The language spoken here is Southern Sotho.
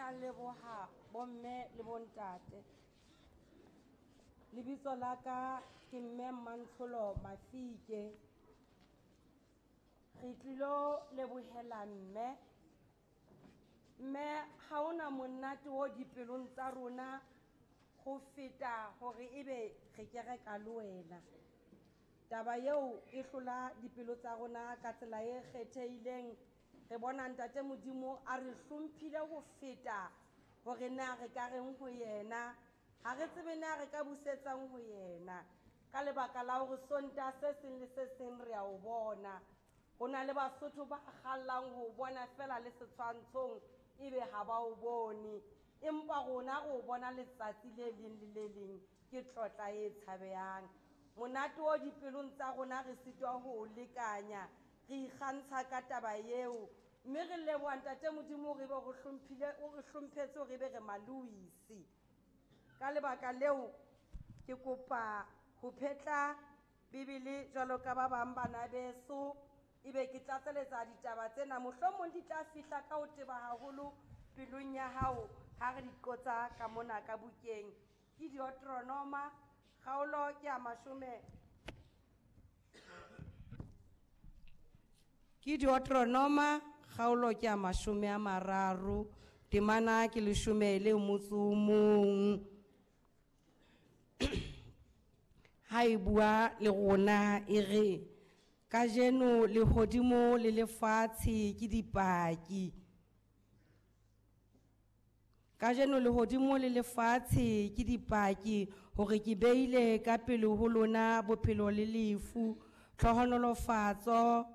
a leboha bomme le bontate. Lebitso la ka ke mme Mmantsholo Mafike. Re tlilo lebohela mme. Mme ha hona monate o dipelong tsa rona ho feta hore ebe re kereka le wena. Taba eo e hlola dipelo tsa rona ka tsela e kgethehileng. Re bona ntate Modimo a re hlomphile ho feta hore na re ka reng ho yena. Ha re tsebe na re ka busetsang ho yena. Ka lebaka la hore Sontaha se seng le se seng re a o bona. Ho na le Basotho ba kgallang ho bona fela le setshwantshong ebe ha ba o bone. Empa rona re o bona letsatsi le leng le le leng, ke tlotla e tshabehang. Monate o dipelong tsa rona re sitwa ho o lekanya, re ikgantsha ka taba eo. Mme re leboha ntate Modimo hore ebe o re hlomphile, o re hlomphetse hore ebe re Maluisi. Ka lebaka leo ke kopa ho phetla Bibele jwalo ka ba bang bana beso, ebe ke tlatseletsa ditaba tsena, mohlomong di tla fihla ka ho teba haholo pelong ya hao ha re di qotsa ka mona ka bukeng. Ke Deuteronoma, kgaolo ke ya mashome. Ke Deuteronoma, kgaolo ke ya 30, temana ke leshome le motso o mong. Ha e bua le rona e re, kajeno lehodimo le lefatshe ke dipaki. Kajeno lehodimo le lefatshe ke dipaki hore ke beile ka pele ho lona bophelo le lefu, tlhohonolofatso